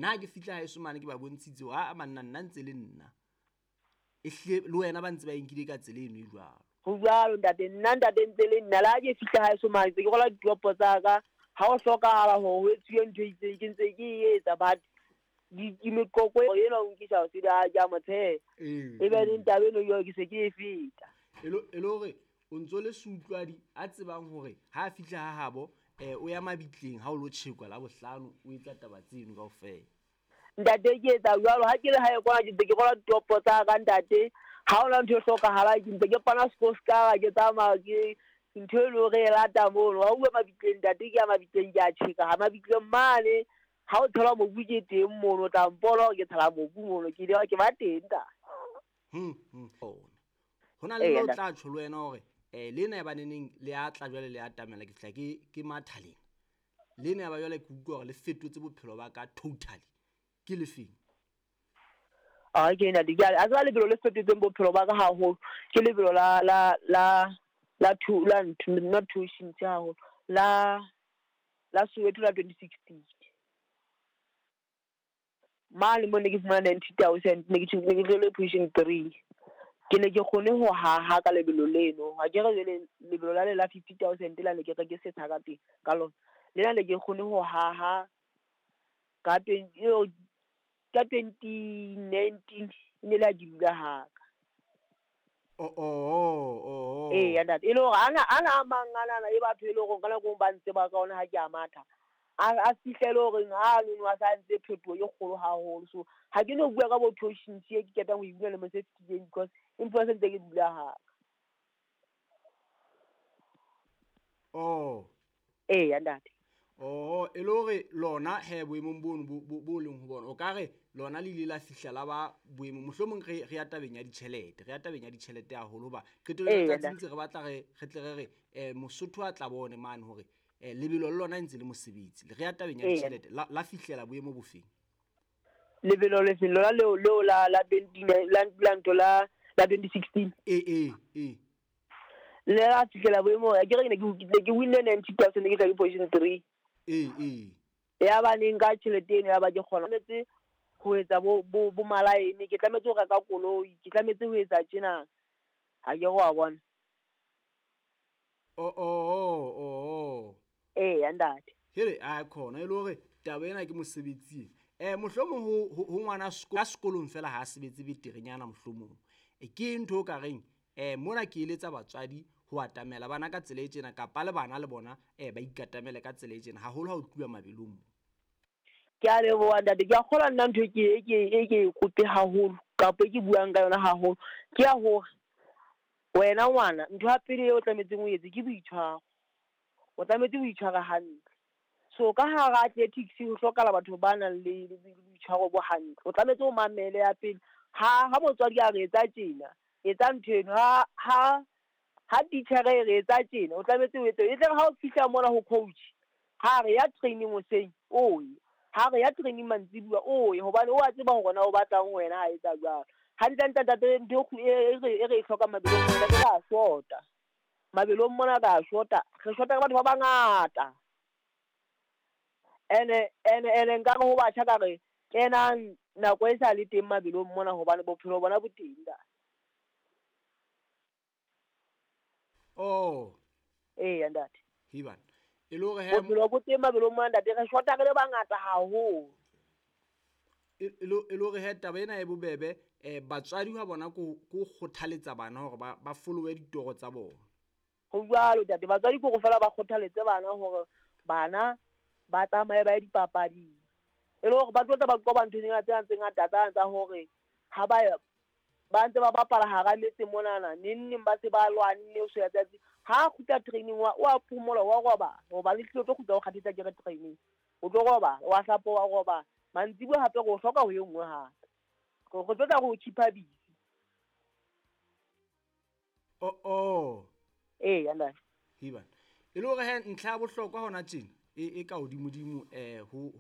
Nna ha ke fihla haeso mane ke ba bontshitse hore aa banna nna ntse le nna. E hlile le wena ba ntse ba e nkile ka tsela eno e jwalo. Ho jwalo ntate, nna ntate ntse le nna le ha ke fihla haeso mane ntse ke rwala ditopo tsa ka. Ha ho hlokahala hore ho etsuwe ntho e itseng ke ntse ke e etsa, but meqoqo ena o nkisa ho sele ke a mo tsheha. E be neng taba eno jwale ke se ke e feta. E le hore o ntso le seutlwadi a tsebang hore ha a fihla ha habo o ya mabitleng ha o lo tjhekwa la bohlano, o etsa taba tseno kaofela. Ntate ke etsa jwalo ha ke le hae kwana ke ntse ke rwala ditopo tsa ka ntate. Ha hona ntho e hlokahalang ke ntse ke pana sekoscara ke tsamaya ke ntho e leng hore e lata mono. Ha uwe mabitleng ntate ke ya mabitleng ke a tjheka ha mabitleng mane. Ha o thola mobu ke teng mono, o tla mpona hore ke tshela mobu mono, ke ile ke ba teng ntate. Ho na le le o tla tjho le wena hore lena ya baneneng le a tla jwale le atamela ke fihla ke matha lena. Lena ya ba jwale ke utlwa hore le fetotse bophelo ba ka totally. Ke lefeng? Ah ke ena di a tseba lebelo le fetotseng bophelo ba ka haholo. Ke lebelo la la la la two la not two haholo. La la Soweto la 2016. Mane mo ne ke fumana 90,000 ne ke ne ke position 3. Ke ne ke kgone ho haha ka lebelo leno. Ha ke re jwale lebelo la le la 50,000 la ne ke re ke setsha ka teng ka lona. Lena ne ke kgone ho haha ka 2019 ne la ke dula haka. Oh. Eh ya ntate, e le hore ana mang ana e batho e le hore ka nako ba ntse ba ka ona ha ke a matha. A fihlele hore ha no a sa ntse phetoho e kgolo haholo. So ha ke no bua ka bo toshins e ke ketang ho e bua le mo se fetileng because empa se ntse ke dula haka. Oh. Eh ya ntate. Oh, e le hore lona he boemong bono bo leng ho bona. O ka re lona le ile la fihla la ba boemong mohlomong re ya tabeng ya ditjhelete, re ya tabeng ya ditjhelete haholo ba qetellong ya tsatsi ntse re batla re tle re re Mosotho a tla bone mane hore lebelo le lona ntse le mosebetsi. Re ya tabeng ya ditjhelete la fihlela boemo bofeng? Lebelo le feng lona leo leo la la 20 la la la 2016. Eh. Le la fihlela boemo ke re ne ke winne 90,000 ke tla ke position 3. Eh. Ya ba neng ka tjhelete eno ya ba ke kgona tlametse ho etsa bo malaene, ke tlametse ho reka koloi, ke tlametse ho etsa tjena. Ha ke go a bona. Oh. Eh ya ntate. Here a khona e le hore taba ena ke mosebetsi. Mohlomong ho ngwana sekolong fela ha sebetse beterenyana mohlomong. Ke ntho o ka reng mona ke eletsa batswadi ho atamela bana ka tsela e tjena kapa le bana le bona ba ikatamele ka tsela e tjena haholo ha o tluwa mabelong. Ke a leboha ntate, ke a kgolwa nna ntho e ke kope haholo kapa ke buang ka yona haholo ke ya hore wena ngwana ntho ya pele eo o tlametseng o etse ke boitshwaro. O tlametse ho itshwara hantle. So ka hara athletics ho hlokahala batho ba nang le boitshwaro bo hantle. O tlametse o mamele ya pele. Ha motswadi a re etsa tjena, etsa ntho eno. Ha teacher e re etsa tjena, o tlametse o etse. E tle ha o fihla mona ho coach, ha re ya training hoseng, o ye. Ha re ya training mantsibuya, o ye. Hobane o a tseba hore na o batlang wena ha etsa jwalo. Hantle ntate ntho e re e hlokang mabelong mona ke ra shota. Mabelong mona ra shota. Re shota ka batho ba bangata. Ene nka re ho batjha ka re kenang nako e sa le teng mabelong mona hobane bophelo bona bo teng da. Oh. Eh ntate. Hiban. E le hore bophelo bo teng mabelong mona ntate re shota re le bangata haholo. E le hore he taba ena e bobebe batswadi ha bona ko kgothaletsa bana hore ba followe ditoro tsa bona. Ho jwalo ntate, batswadi ke go fela ba kgothaletse bana hore bana ba tsamaye ba ye dipapading. E le hore ba tlo tla ba qoba ntho tse ngata tsa hore ha ba ntse ba bapala hara metse monana neng ba se ba lwanne o so ya tsatsi. Ha kgutla training wa o a phomola wa robala hobane le tlo kgutla o kgathetsa ke re training. O tlo robala wa hlapa wa robala. Mantsibuya hape go hloka ho e nngwe hape. Go tlo tla go keep-a busy. Oh. Eh ya ntate. Hiban. E le hore he ntlha ya bohlokwa hona tjena e ka hodimodimo ho